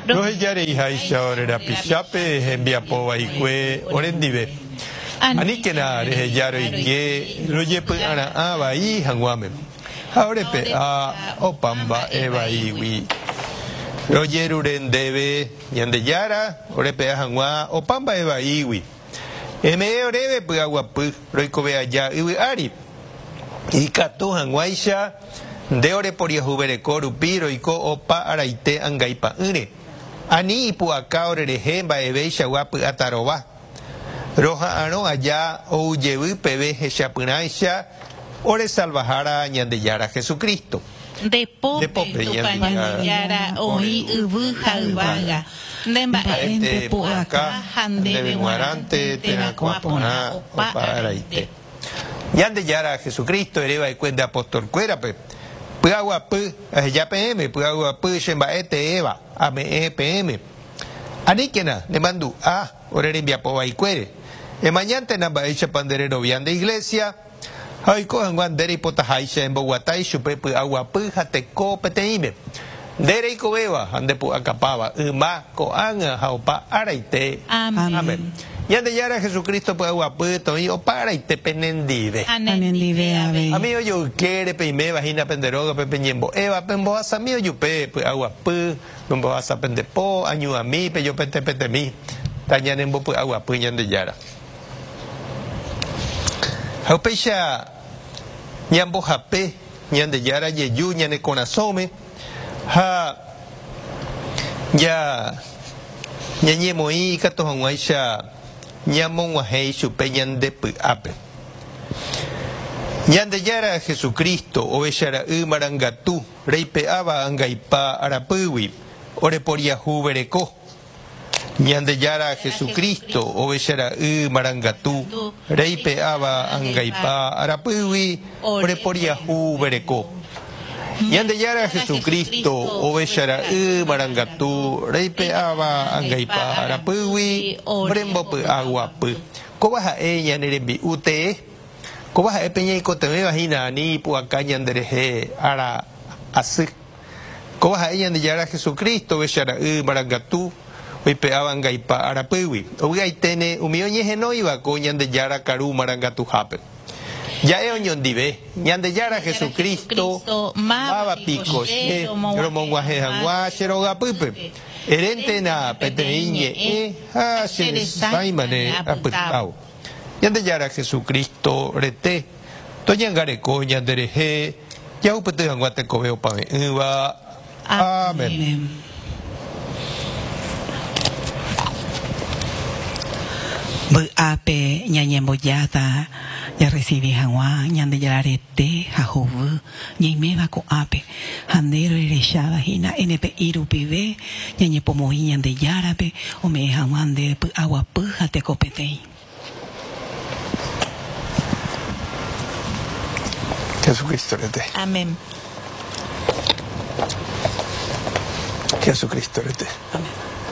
Roheja reiháicha ore rapichápe hembiapo vaikue orendive. Aníkena reheja roike rojepy'ara'ã vai hag̃uáme, ha orepe'a opa mba'e vaígui. Rojerure ndéve, Ñandejára, orepe'a hag̃ua opa mba'e vaígui. Eme'ẽ oréve py'aguapy roikove aja yvy ári, ikatu hag̃uáicha nde oreporiahuvereko rupi roiko opa araite angaipa'ỹre. Ani ipu'aka orerehe mba'eveichagua py'atarova. Roha'arõ aja ou jevy peve hechapyrãicha ore Salvahára Ñandejára Jesucristo. Nde pópe, Tupã Ñandejára, oĩ yvy ha yvága, nde mba'énte pu'aka ha ndéve g̃uarãnte terakuã porã opa araite. Ñandejára Jesucristo ere va'ekue nde apóstol-kuérape, Py'aguapy aheja peẽme, py'aguapy che mba'e teéva ame'ẽ peẽme. Aníkena nemandu'a ore rembiapo vaikuére. Emañántena mba'éichapa nde rerovia nde iglésia, Ha oiko hag̃ua nde reipotaháicha emboguata ichupe py'aguapy ha teko peteĩme. Nde reikovéva ha nde pu'akapáva, yma, ko'ág̃a ha opa áraite. Amén. Ñandejára Jesucristo py'aguapy toĩ opa áraite penendive. Ha nendive avei. Umi ojoykére peiméva hína pende rógape peñembo'éva, pembohasami ojupe py'aguapy, pembohasa pende po, añuãmi, pejopetepetemi, tañanembopy'aguapy Ñandejára. Ha upéicha ñambohape Ñandejára jeju ñane korasõme ha ñañemoĩ ikatu hag̃uáicha ñamog̃uahẽ ichupe ñande py'ápe. Ñandejára Jesucristo, Ovecha Ra'y marangatu, reipe'áva angaipa arapýgui, oreporiahuvereko. Ñandejára Jesucristo, Ovecha Ra'y marangatu, reipe'áva angaipa arapýgui ore poriahu vereko. Ñandejára Jesucristo, Ovecha Ra'y marangatu, reipe'áva angaipa arapýgui ore mbopy'a guapy. Kóva ha'e ñane rembi'u tee. Kóva ha'e pe ñaikotevẽva hína ani ipu'aka ñanderehe ára asy. Kóva ha'e Ñandejára Jesucristo, Ovecha Ra'y marangatu, oipe'áva angaipa arapýgui. Ovy'aiténe umi oñehenóiva ko Ñandejára karu marangatuhápe. Ja'e oñondive, Ñandejára Jesucristo, máva piko che romog̃uahẽ hag̃ua che rogapýpe? Eréntena peteĩ ñe'ẽ ha che resãimane apytávo. Ñandejára Jesucristo rete toñangareko ñanderehe jahupyty hag̃ua tekove opave'ỹva. Amén. Vy'ápe ñañembojáta jarresivi hag̃ua Ñandejára rete ha hovy ñaiméva ko'ápe, ha nde rohecháva hína NPI rupive ñañepomoĩ Ñandejárape ome'ẽ hag̃ua ndéve py'aguapy ha tekopeteĩ. Jesucristo rete. Amén. Jesucristo rete. Amén.